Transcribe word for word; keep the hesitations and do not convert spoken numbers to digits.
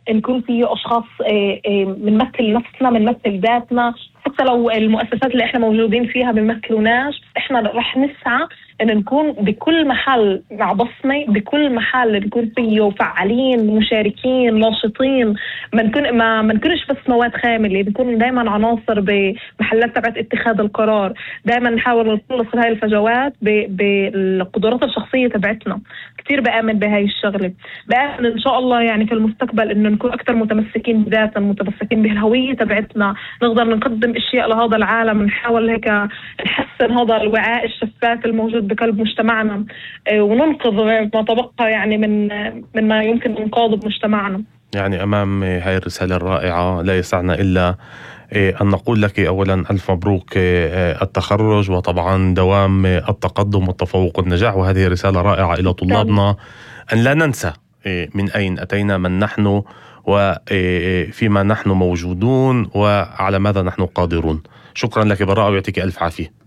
نكون فيه أشخاص بنمثل نفسنا بنمثل ذاتنا، حتى لو المؤسسات اللي احنا موجودين فيها بنمثلوناش، احنا رح نسعى ان نكون بكل محل مع بصمة، بكل محل نكون فيه فعالين مشاركين ناشطين، ما نكون ما ما نكونش بس مواد خاملة، نكون دائما عناصر بمحلات تبعت اتخاذ القرار. دائما نحاول نخلص هاي الفجوات بالقدرات الشخصية تبعتنا. كتير بآمن بهاي الشغلة، بآمن ان شاء الله يعني في المستقبل انه نكون اكثر متمسكين بذاتنا، متمسكين بالهوية تبعتنا، نقدر نقدم اشياء لهذا العالم، نحاول هيك نحسن هذا الوعاء الشفاف الموجود بقلب مجتمعنا، وننقذ ما تبقى يعني من من ما يمكن انقاذه بمجتمعنا. يعني أمام هاي الرسالة الرائعة لا يسعنا إلا أن نقول لك أولا ألف مبروك التخرج، وطبعا دوام التقدم والتفوق والنجاح. وهذه رسالة رائعة إلى طلابنا أن لا ننسى من أين أتينا، من نحن، وفيما نحن موجودون، وعلى ماذا نحن قادرون. شكرا لك براء ويعطيك ألف عافية.